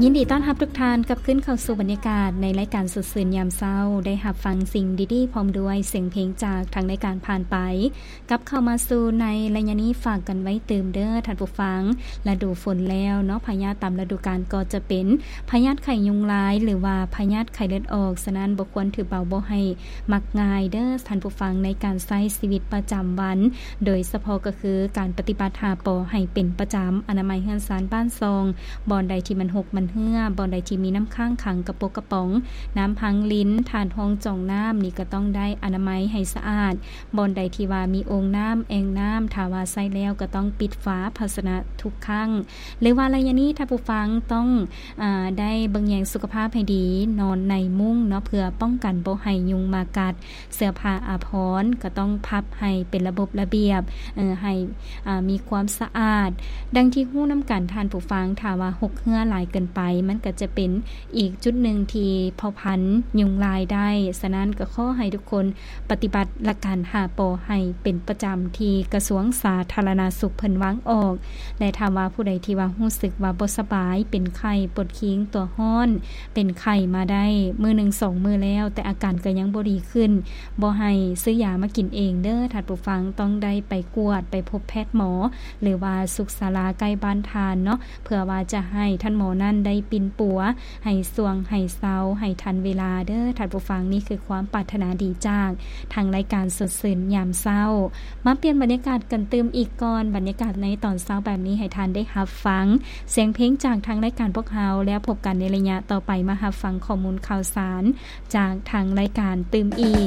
ຍິນດີຕ້ອນຮັບທຸກທ່ານກັບຄືນເຂົ້າສູ່ບັນຍາກາດໃນລາຍການສົດຊື່ນຍາມເຊົ້າ, ໄດ້ຮັບຟັງສິ່ງດີໆ ພ້ອມດ້ວຍສຽງເພງຈາກທາງລາຍການຜ່ານໄປ. ກັບເຂົ້າມາສູ່ໃນໄລຍະນີ້ ຝາກກັນໄວ້ຕື່ມເດີທ່ານຜູ້ຟັງ, ລະດູຝົນແລ້ວເນາະ, ພະຍາດຕາມລະດູການກໍຈະເປັນພະຍາດໄຂ້ຍຸງລາຍ ຫຼືວ່າພະຍາດໄຂ້ເລືອດອອກ, ສະນັ້ນບໍ່ຄວນຖືເບົາ, ບໍ່ໃຫ້ມັກງ່າຍເດີທ່ານຜູ້ຟັງ ໃນການໃຊ້ຊີວິດປະຈຳວັນ, ໂດຍສະເພາະກໍຄືການປະຕິບັດຫ້າ ປ ໃຫ້ເປັນປະຈຳ, ອະນາໄມເຮືອນຊານບ້ານຊ່ອງ, ບ່ອນໃດທີ່ມັນຫົກມັນເຮື້ອ, ບ່ອນໃດທີ່ມີນ້ຳຄ້າງຂັງກະປົກກະປ໋ອງ, ນ້ຳພັງລິນ, ຖາດຮອງຈອງນ້ຳນີ້ກໍຕ້ອງໄດ້ອະນາໄມໃຫ້ສະອາດ, ບ່ອນໃດທີ່ວ່າມີໂອ່ງນ້ຳ, ແອ່ງນ້ຳ, ຖ້າວ່າໃຊ້ແລ້ວກໍຕ້ອງປິດຝາພາຊະນະທຸກຄັ້ງ. ຫຼືວ່າໄລຍະນີ້ທ່ານຜູ້ຟັງຕ້ອງ ອາ ໄດ້ເບິ່ງແຍງສຸຂະພາບໃຫ້ດີ, ນອນໃນມຸ້ງເນາະ ເພື່ອປ້ອງກັນບໍ່ໃຫ້ຍຸງມາກັດ. ເສື້ອຜ້າອາພອນກໍຕ້ອງພັບໃຫ້ເປັນລະບົບລະບຽບ, ເອີ ໃຫ້ ອາ ມີຄວາມສະອາດ. ດັ່ງທີ່ຮູ້ນຳກັນທ່ານຜູ້ຟັງ, ຖ້າວ່າຫົກເຮື້ອຫຼາຍເກີນໄປ, ມັນກໍຈະເປັນອີກຈຸດໜຶ່ງທີ່ເພົາພັນຍຸງລາຍໄດ້. ສະນັ້ນກໍຂໍໃຫ້ທຸກຄົນ ປະຕິບັດຫຼັກການຫ້າ ປ ໃຫ້ເປັນປະຈຳ ທີ່ກະຊວງສາທາລະນະສຸກເພິ່ນວາງອອກ. ແລະ ຖ້າວ່າຜູ້ໃດທີ່ວ່າຮູ້ສຶກວ່າບໍ່ສະບາຍ, ເປັນໄຂ້, ປວດຄີງ, ຕົວຮ້ອນ, ເປັນໄຂ້ມາໄດ້ມື້ໜຶ່ງສອງມື້ແລ້ວ, ແຕ່ອາການກໍຍັງບໍ່ດີຂຶ້ນ, ບໍ່ໃຫ້ຊື້ຢາມາກິນເອງເດີທ່ານຜູ້ຟັງ, ຕ້ອງໄດ້ໄປກວດ, ໄປພົບແພດໝໍ ຫຼືວ່າສຸກສາລາໃກ້ບ້ານທ່ານເນາະ, ເພື່ອວ່າຈະໃຫ້ທ່ານໝໍນັ້ນໄດ້ປິ່ນປົວ ໃຫ້ຊ່ວງໃຫ້ເຊົາໃຫ້ທັນເວລາເດີທ່ານຜູ້ຟັງ. ນີ້ຄືຄວາມປາດຖະໜາດີຈາກທາງລາຍການສົດຊື່ນຍາມເຊົ້າ. ມາປ່ຽນບັນຍາກາດກັນຕື່ມອີກກ່ອນ. ບັນຍາກາດໃນຕອນເຊົ້າແບບນີ້ ໃຫ້ທ່ານໄດ້ຮັບຟັງສຽງເພງຈາກທາງລາຍການພວກເຮົາ, ແລ້ວພົບກັນໃນໄລຍະຕໍ່ໄປ ມາຮັບຟັງຂໍ້ມູນຂ່າວສານຈາກທາງລາຍການຕື່ມອີກ.